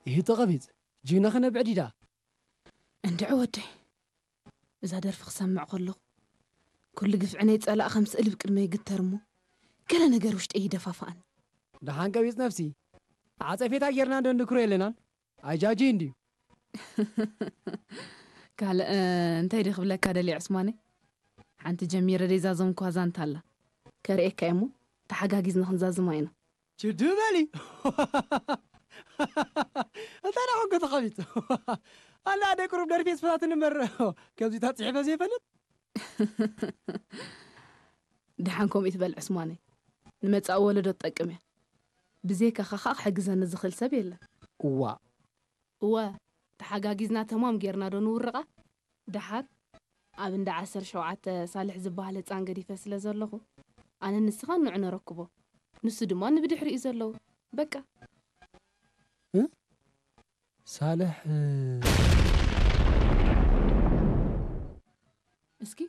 ይህቶ ቐቢጽ፣ ጅግና ኸነብዕድ ኢዳ። እንድዒ ወደይ፣ እዛ ደርፊ ክሰምዕ ከለኹ፣ ኩሉ ግፍዒ ናይ ጸላእ ከም ስእሊ ብቅድመይ ይግተር እሞ፣ ገለ ነገር ውሽጠይ ይደፋፍኣኒ። ደሓን ቀቢጽ ነፍሲ፣ ዓጸፌታ ጌርና እንዶ እንድክሮ የለናን። ኣይጃጂ እንድዩ። ካልእ፣ እ፣ እንታይ ዲ ክብለካ ደልየ ዕስማነይ? ሓንቲ ጀሚረ ደይዛዘምኳ ዛንታ ኣላ። ከርእየካ እየ እሞ፣ ተሓጋጊዝና ክንዛዝማ ኢና። ችዱ በሊ። እንታይ ደኣ ኮንከ ተቐቢጽ? ኣላ ኣደ ቁሩብ ደርፊ ስፍታትን እምበር፣ ከምዚ ተጽሒፈ ዘይፈልጥ። ደሓን ከምኡ ትበል ዕስማነይ። ንመጻኢ ወለዶ ትጠቅም እያ። ብዘይካኻ ኸኣ ክሕግዘኒ ዝኽእል ሰብ የለን። እዋ። እወ፣ ተሓጋጊዝና ተማም ጌርና ዶ ንውርቓ? ደሓር፣ ኣብ እንዳ ዓሰርተ ሸውዓተ ሳልሕ ዝበሃል ህጻን ገዲፈ ስለ ዘለኹ፣ ኣነ ንስኻን ንዑ ነረክቦ። ንሱ ድማ ንብድሕሪኡ ዘለዉ። በቃ። ሳልሕ፣ እ፣ እስኪ